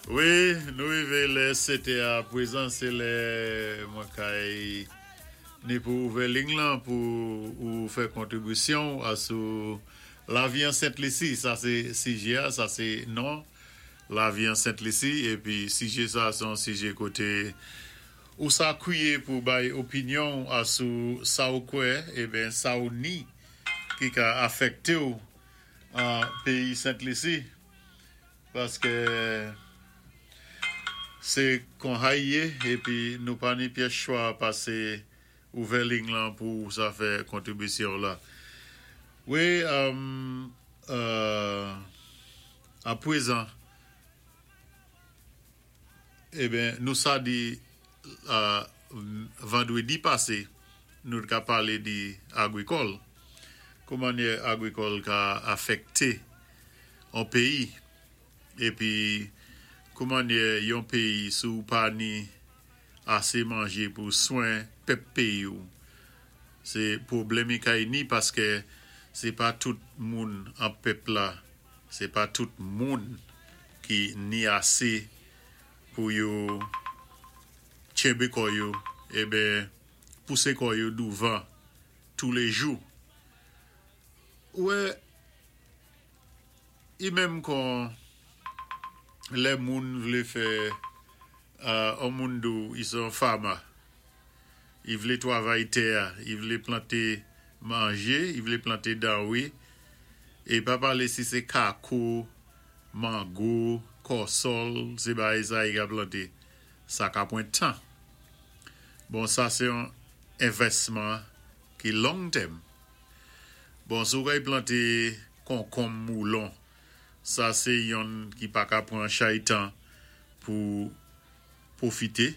Wi, nou wivé lè sétè a pwézan, sé lè mwen kay ni pou ouvè ling lan pou ou fè kontribisyon'w asou lavi an Sent Lisi. Sa sé sijé a, sa sé non lavi an Sent Lisi épi sijé sa sé yon sijé koté ou sa kwiyé pou bay opinyon'w asou sa ou kwè eben sa ou ni ki ka afèkte'w an péyi Sent Lisi. Paske se kon hay ye epi nou pa ni pyès chwa pase ouvè ling lan pou sa fè kontribisyon w la. Wi a pwezan eben nou sa di vandredi pase nou t ka pale di agrikòl koumannyè agrikòl ka afèkte on peyi epi koumannyè yon peyi si w pa ni ase manje pou swen pèp peyi w se pwoblèm i kay ni paske se pa tout moun an pèp la se pa tout moun ki ni ase pou yo tchenbe kò yo eben pouse kò yo douvan toulejou ou wè. I menm kon lè moun vlé fè on moun di w i sé on farmer, i vlé twavay tè a, i vlé planté manjé, i vlé planté danwé, é pa palé si sé kako, mango, kòsòl, sé bagay sa i ka planté, sa ka pwan tan. Bon sa sé on envèsman ki long tèm. Bon si w kay plante konkonm moulon sa se yonn ki pa ka pran chay tan pou pwofite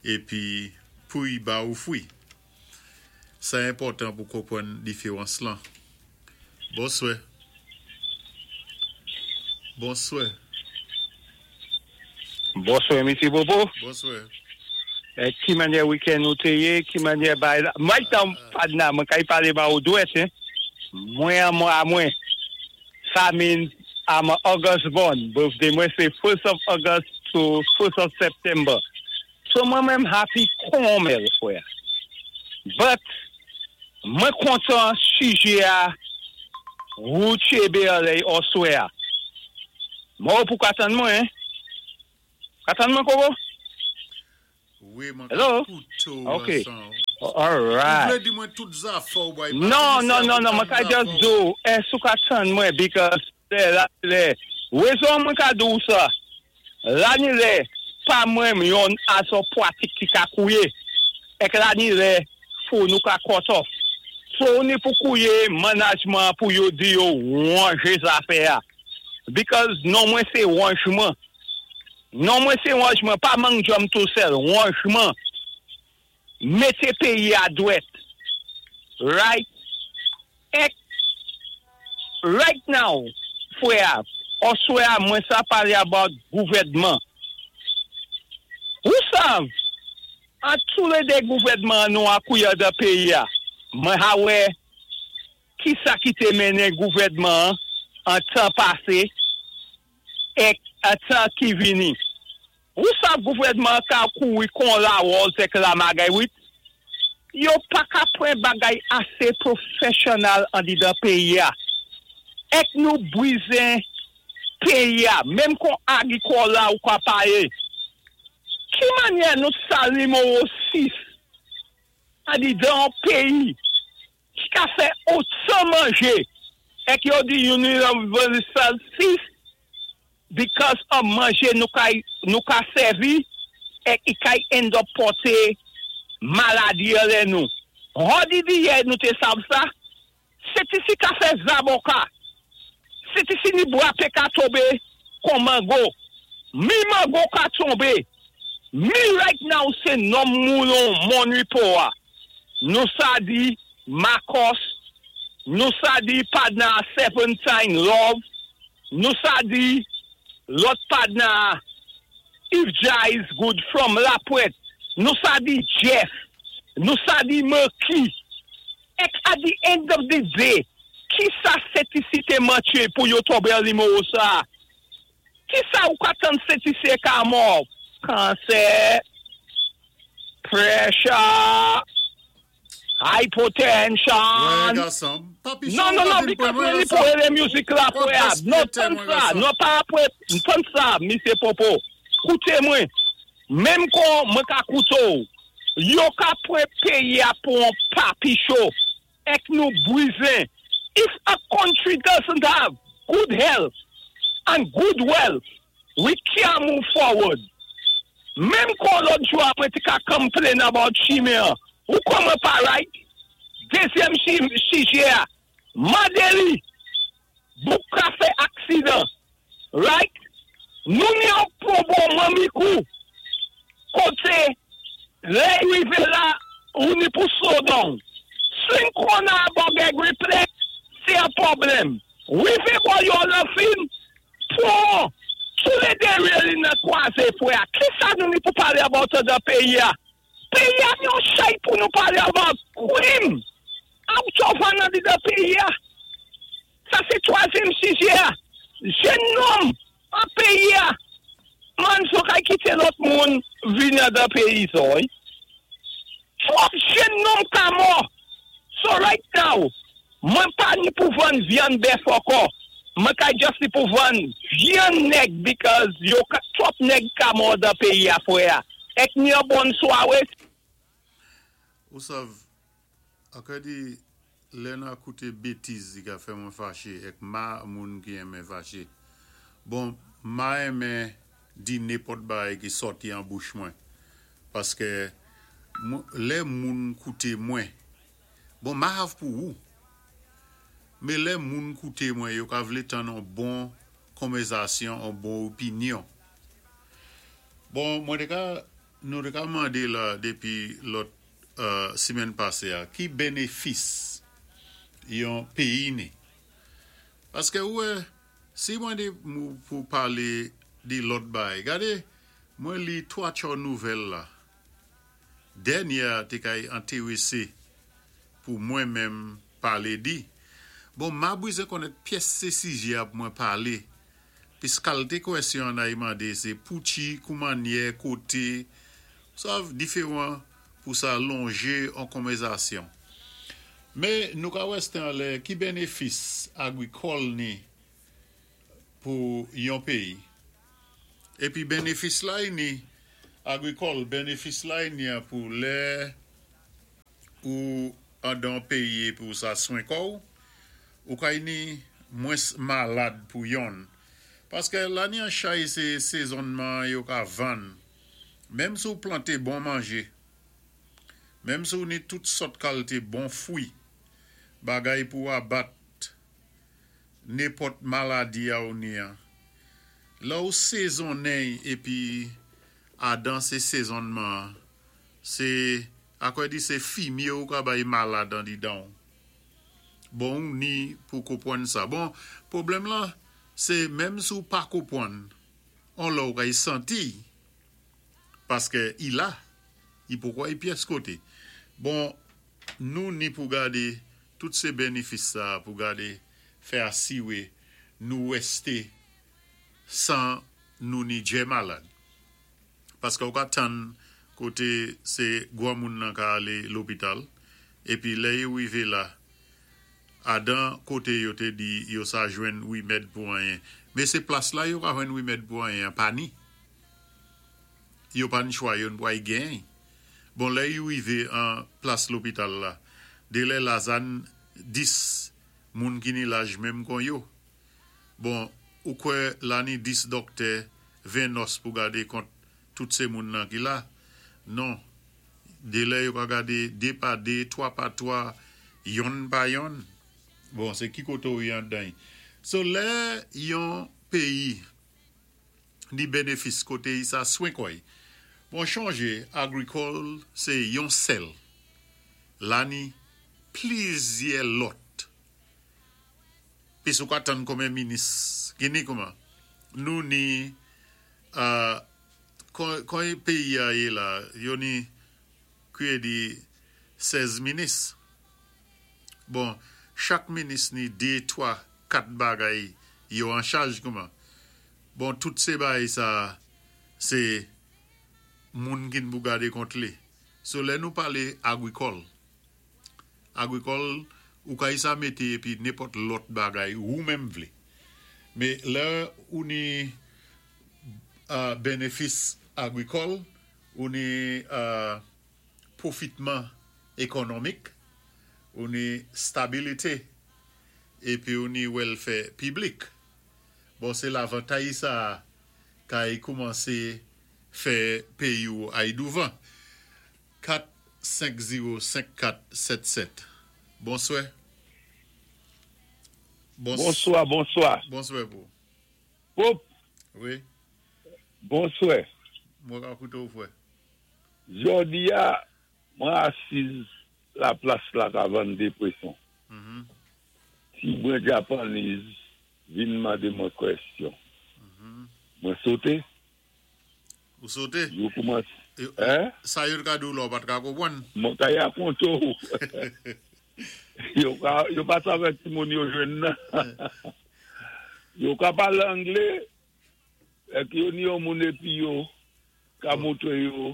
epi pouy ba ou fwi. Sa enpòtan pou konprann diferans lan. Bonswè. Bonswè. Bonswè Mesye Bobo. Bonswè. Ki manyè weekend ou te ye, ki manyè bagay la. Mwen tan padna, mwen kay pale ba ou dwèt hein. Mwen an mwa mwen. Sa means I'm a August born. Birthday mwen se first of August to first of September. So mwen menm happy kon mèl frè. But mwen kontan sijè a wou tchebe anlè oswè a. Mwen wè pou ka tann mwen hein. Ka tann mwen koko? Wi mwen ka koute w Ok alright. Ou vle di mwen tout zafè w bay pa Non non non non mwen ka just di w èske ou ka tann mwen because lè la lè rezon mwen ka di w sa la ni lè pa mwen yon azò pwatik ki ka kouye èk la ni lè fou nou ka cut off so ou ni pou kouye manajman pou yo di yo wanje zafè a because non mwen se wanjman. Non mwen se wanjman pa mang djòm tou sèl wanjman mete peyi a dwèt right ek right now frè a oswè a mwen sa pale about gouvèdman ou sav an tou le 2 gouvèdman an nou akouye dan peyi a mwen ha wè kisa ki te mennen gouvèdman an an tan pase èk tan ki vini. Ou sav gouvèdman an ka kouri kon lawòz èk lamagèrit, yo pa ka pran bagay ase pwofèsyonal andidan peyi a. Èk nou brizen peyi a, menm kon agrikòl la ou ka paye. Ki manyè nou sa nimewo 6 andidan on peyi ki ka fè otan manje èk yo di universal 6 because of manje nou kay nou ka sèvi èk i kay end up pòte maladi anlè nou. Hò di di yè nou te sav sa? Se ti si ka fè zaboka, se ti si ni bwape ka tonbe kon mango, mi mango ka tonbe, mi right now se nonm moulon Mon Repos a. Nou sa di Marcos, nou sa di padna Serpentine Love, nou sa di lòt padna If Jah is good from Lapwent, nou sa di Jeff, nou sa di Merky. Èk at the end of the day, ki sa Sent Lisi te mantye pou yo tonbe an nimewo sa? Ki sa ou ka tann Sentisye ka mò? Kansè, pressure, Wè hypotension. Gason, papi Non, chan non, ou pa non, vin pran because mwen mwen li pou gason. rélé music la Wap fwè a. gaspiye Non, tè tann mwen sa, gason. non pa apwé, tann sa, Misye Popo. Kouté mwen, menm kon mwen ka kouto, yo ka pwan péyi a pou an papi cho, èk nou bwizen. If a country doesn't have good health and good wealth, we can't move forward. Menm kon lòt jou apwé ti ka complain about chimen an, ou kon mwen pa right? Dézyèm sijè a, mandé li, bouk ka fè aksidan, right? Nou ni an pou bon mamikou, koté, lè rivé la, ou ni pou slow down. Swing corner about replay, sé an pwoblèm. Rivé bò yo la fin, pou, tou lé dé rail nan kwazé fwè. Ki sa nou ni pou palé about dan péyi a? Péyi a ni an chay pou nou palé about krim. Out of nan di dan péyi a. Sa sé twazyèm sijè a. Jenn nonm an péyi a. Man so kay kité lòt moun vini dan péyi so. Twòp jenn nonm ka mò. So right now, mwen pa ni pou vann vyann bèf ankò. Mwen ka just ni pou vann vyann nèg because yo ka, twòp nèg ka mò dan péyi a fwè a. Èk ni an bon swawé. Ou sav, akè di, lè nan kouté bétiz di ka fè mwen faché, èk ma moun ki enmen faché. Bon, ma enmen di nenpòt bagay ki sòti an bouch mwen. Paské lè moun kouté mwen, bon, ma hav pou ou. Mé lè moun kouté mwen, yo ka vlé tann an bon konvèzasyon, an bon opinyon. Bon, mwen té ka, nou té ka mandé la dépi lòt simèn pasé a, ki bénéfis yon péyi ni. Paské ouwè, si mwen di mou pou palé di lòt bay, gadé, mwen li 3 tcho nouvèl la. Dènyè té kay entèwésé pou mwen menm palé di. Bon, ma bwizen konnèt pyès sé sijè a pou mwen palé. Pis kalité kwèsyon an ay mandé sé pouchi, koumannyè, koté, sav diferan pou sa lonjé an konvèzasyon. Mé nou ka wè Stanley, ki bénéfis agrikòl ni pou yon péyi. Épi bénéfis la ni agrikòl, bénéfis la ni a pou lè ou an dan péyi pou sa swen kò ou, ou kay ni mwens malad pou yon. Paské la ni an chay sé sézonnman yo ka vann. Menm si ou planté bon manjé, menm si ou ni tout sòt kalité bon fwi, bagay pou abat nenpòt maladi a ou ni an. La ou sézonnen épi adan sé sézonnman, sé akò di sé fimyé ou ka bay malad an di dan. Bon, ou ni pou konpwann sa. Bon, pwoblèm la, sé menm si ou pa konpwann, on la ou kay santi, paské i la, i poukwa i pyès koté. Bon, nou ni pou gadé tout sé bénéfis sa, pou gadé fè asiwé nou wèsté san nou ni djè malad. Paské ou ka tann koté sé gwa moun nan ka alé lopital, épi lè yo rivé la, adan koté yo té di yo sa jwenn wimèd pou anyen. Mé sé plas la yo ka jwenn wimèd pou anyen, pa ni. Yo pa ni chwa yo n pou ay gen. Bon, lè yo rivé an plas lopital la, dé lè la zan 10 moun ki ni laj menm kon yo. Bon, ou kwè la ni 10 doktè, 20 nòs pou gadé kont tout sé moun nan ki la. Non, dé lè yo ka gadé 2 pa 2, 3 pa 3, yonn pa yonn. Bon, sé ki koté ou yon dan. So lè yon péyi ni bénéfis koté sa swen koy. Bon, chanjé, agrikòl, sé yon sèl. La ni plizyè lòt. Pi sou ka tann konbyen minis, ki ni kouman? Nou ni, kon péyi a yé la, yo ni kouye di 16 minis. Bon, chak minis ni 2, 3, 4 bagay yo an chaj kouman. Bon tout sé bagay sa sé moun ki-n pou gadé kont li. So lè nou palé agwikòl, agwikòl ou ka isa mété épi nenpòt lòt bagay wou menm vlé. Mé lè ou ni benefis agwikòl, ou ni pwofitman ekònòmik, ou ni stabilité épi ou ni wèlfè piblik. Bon se lavantay sa a kay koumanse fè peyi w ay douvan. 4 5 0 5 4 7 7 Bonswè Bonswa bonswa. Bonswè pou. Pop. Wi. Bonswè. Mwen ka koute w frè. Jodi a mwen asiz la plas la ka vann de pweson. Ti bren Japanese vin mande mwen kwèsyon. Mwen sote. Ou sote? Yo koumanse, hein? Sa yo t ka di w la ou pa t ka konprann? Mwen ka rakonte w. Yo ka, yo pa sa avèk timoun yo jwenn nan. Yo ka pale angle, èk yo ni yon moun epi yo ka montre yo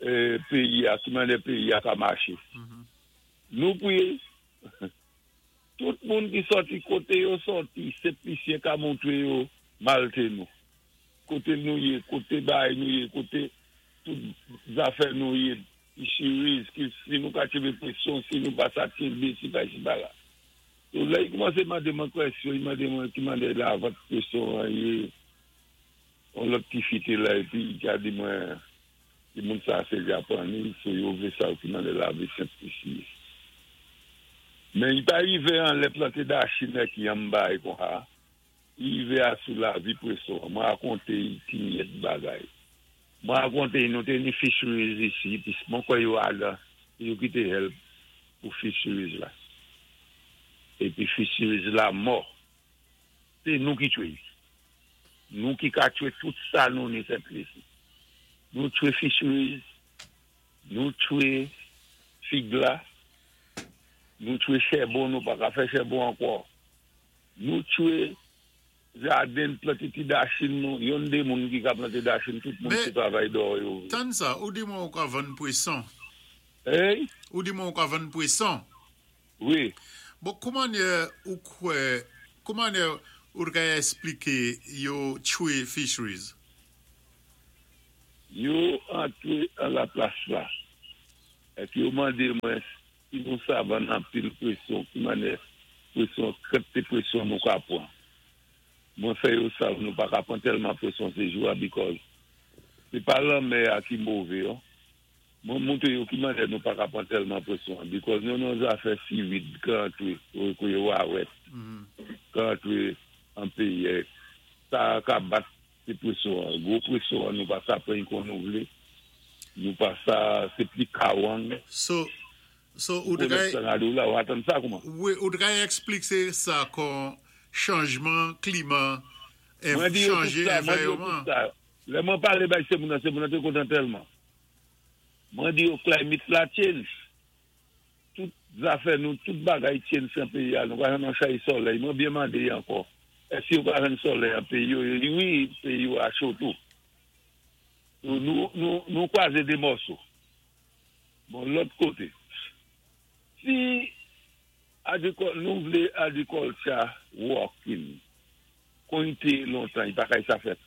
peyi a, ki mannyè peyi a ka mache. Nou pri. Tout moun ki sòti kote yo sòti Sent Lisyen ka montre yo malte nou. Kote nou ye, kote bagay nou ye, kote tout zafè nou ye, fisheries, ki si nou ka tchebe pweson, si nou pa sa tchebe, si pa si pa la. So lè li koumanse mande mwen kwèsyon, li mande mwen ki mannè lavant pweson an ye, yon lòt ti fi te la epi li ka di mwen Ti moun sa se Japanese so yo vle sav ki mande lavi senp isi. Men li pa rive anlè plante dachi nèk yanm bay konha. Li rive a sou lavi preson an. Mwen rakonte y ti myèt bagay. Mwen rakonte y nou te ni fisheries isi pi mwen kwè yo adan se yo ki te help pou fisheries la. Epi fisheries la mò. Se nou ki tchwe y. Nou ki ka tchwe tout sa nou ni Sent Lisi. Nou tchwe fisheries, nou tchwe fig la, nou tchwe chèbon, nou pa ka fè chèbon ankò. Nou tchwe jaden, plante ti dachin nou, yonn de moun ki ka plante dachin, tout moun se travay dò yo vle. Tann sa, ou di mwen ou ka vann pweson. Ey? Ou di mwen ou ka vann pweson. Wi. Bon koumannyè ou kwè, koumannyè ou t ka esplike yo tchwe fisheries? Yo antre an la plas la ek yo mande mwen si nou sa vann anpil pweson ki mannyè pweson kantite pweson nou ka pwan. Mwen fè yo sav nou pa ka pwan tèlman pweson se jou a because se pa lanmè a ki move an. Mwen moutre yo ki mannyè nou paka pran tèlman presyon an because nou nan zafè seaweed ka antre kou yo wawèt ka antre an peyi sa ka bat se presyon an gwo presyon an nou pa sa pran kon nou vle nou pa sa se pli kawang So so ou te ka ou atann sa kouman? Wi ou te ka eksplike sa kon chanjman klima Mwen di yo tout sa mwen di yo tout sa lè mwen pale bay se moun nan se moun nan te kontan tèlman. Mwen di yo climate la change. Tout zafè nou, tout bagay change nan peyi a. Nou pa jwenn yon chay solèy. Mwen byen mande ankò. Èske yo pa jwenn solèy an peyi yo? Yo di wi, peyi yo a cho tou. Nou, nou, nou kwaze de mòso. Bon, lòt kote. Si agrikòl, nou vle agriculture working, kon li te lontan, li pa kay sa fèt.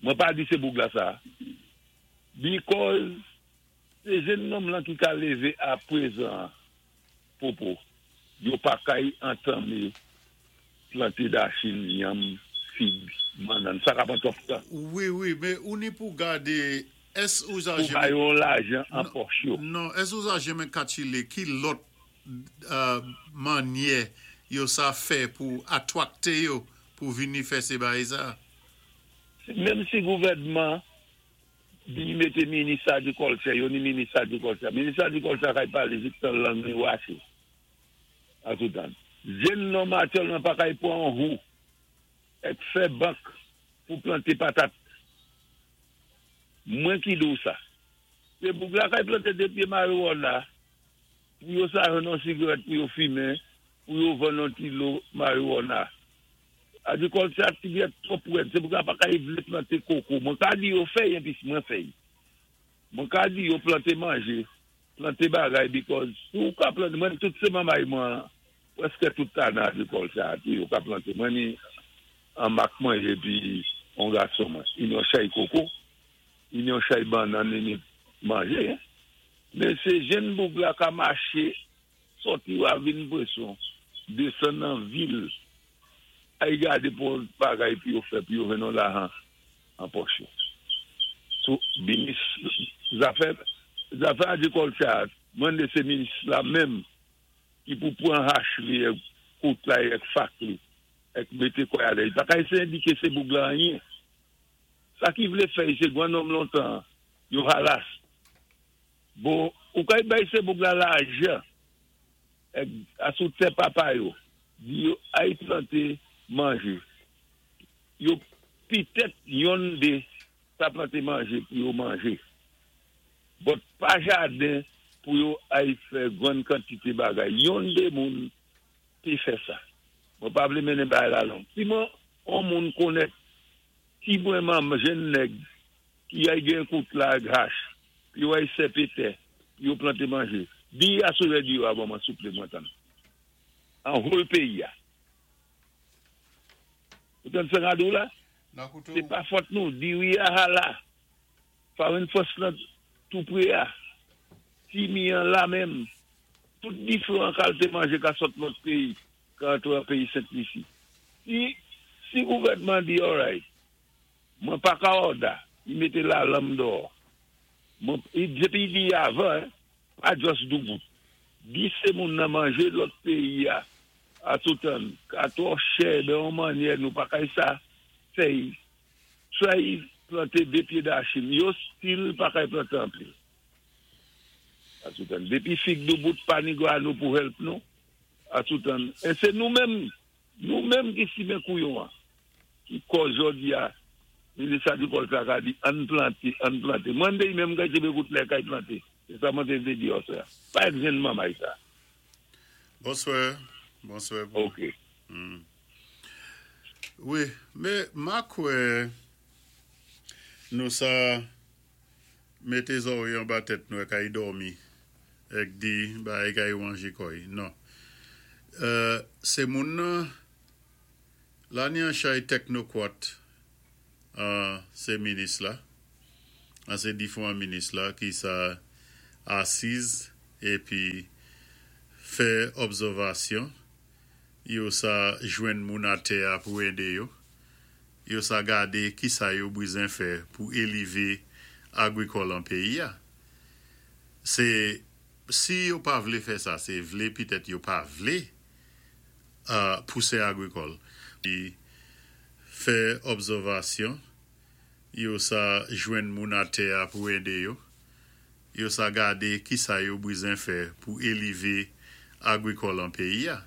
Mwen pa di se boug la sa. Because se jenn nonm lan ki ka leve a prezan popo yo pa kay antame plante dachin yanm fig bannann sa ka pran twòp tan. Wi wi men ou ni pou gade es ou za Pou ba yo lajan an pòch yo. Non es ou za jemen katchile ki lòt manyè yo sa fè pou atwakte yo pou vini fè se bagay sa. Menm si gouvènman Di mete minis agrikòltè yo ni minis agrikòltè. Minis agrikòltè a kay pale jiktan lang li rache. Antoutan, jenn nonm aktyèlman pa kay pran yon hou èk fè bank pou plante patat. Mwen ki di w sa. Se boug la kay plante de pye mariwòna pou yo sa jwenn yon sigarèt pou yo fimen, pou yo vann yon kilo mariwòna. Agrikilti a ti byé twòp wèd, sé pou sa pa ka vlé planté koko. Mwen ka di yo fèy épi mwen fèy. Mwen ka di yo planté manjé, planté bagay because si ou ka planté, mwen tout sé mamay mwen, pwèské tout tan nan agrikilti a, yo ka planté. Mwen ni an mak manjé pi an gason mwen. I ni yon chay koko, i ni yon chay bannann, i ni manjé. Men sé jenn boug la ka maché, sòti Ravin Pweson, desann nan vil, ay gadé pou bagay pi yo fè, pi yo jwenn yon lajan an pòch yo. So, minis, zafè agrikilti, mwen sé minis la menm, ki pou pran hach li, kout la, ek fak li, ek mété kwa alè. Pa ka éséyé endiké sé boug la anyen. Sa ki vlé fè, sé gwan nonm lontan, yo halas. Bon, ou kay bay sé boug la lajan, ek asou tè papa yo, di yo ay planté manjé. Yo pitèt yon dé sa planté manjé pou yo manjé. But pa jaden pou yo ay fè gwan kantité bagay. Yon dé moun té fè sa. Mwen pa vlé mennen bagay la long. Si mwen, on moun konnèt ki mwen jenn nèg ki ay gen kout la hach, yo ay sèpé tè, yo planté manjé. Di aswè di yo avan mwen souplé mwen tann. An whole péyi a. Ou tann sa radou la? Sé pa fòt nou, diri a hala. Farin fòs lan tou pré a. Ti mi an la menm. Tout diferan kalité manjé ka sot lòt péyi, ka antré an péyi Sent Lisi. Si gouvèdman di, alright, mwen pa ka order, i mété la lanm dò. Mwen, dépi di avan, pa just doubout. Di sé moun nan manjé lòt péyi a, a toutan, ka twò chè, ben on mannyè, nou pa kay sa, fèy, try planté dé pyé dachin, yo still pa kay planté anpil. A toutan, dépi fig doubout pa ni nou pou help nou, a toutan, é sé nou menm, nou menm ki simen kouyon an, ki kòz jòdi a, minis agrikòl sa ka di, ann planté, ann planté. Mwen dé menm kay tjébé kout lè kay planté. Sé sa mwen té vlé di osè. Pa ek jenn mamay sa. Bonswè. Bonswè. Ok. Wi, mé ma kwè nou sa mété zòwèy anba tèt nou ek ay dòmi ek di bagay kay wanjé kòy. Non. Sé moun nan la ni an chay teknokwat sé minis la. An sé difwan minis la ki sa asiz épi fè òbsèvasyon yo sa jwenn moun atè a pou édé yo. Yo sa gadé ki sa yo bizwen fè pou élévé agrikòl an péyi a. Sé si yo pa vlé fè sa, sé vlé pitèt yo pa vlé pousé agrikòl. Fè òbsèvasyon yo sa jwenn moun atè a pou édé yo. Yo sa gadé ki sa yo bizwen fè pou élévé agrikòl an péyi a.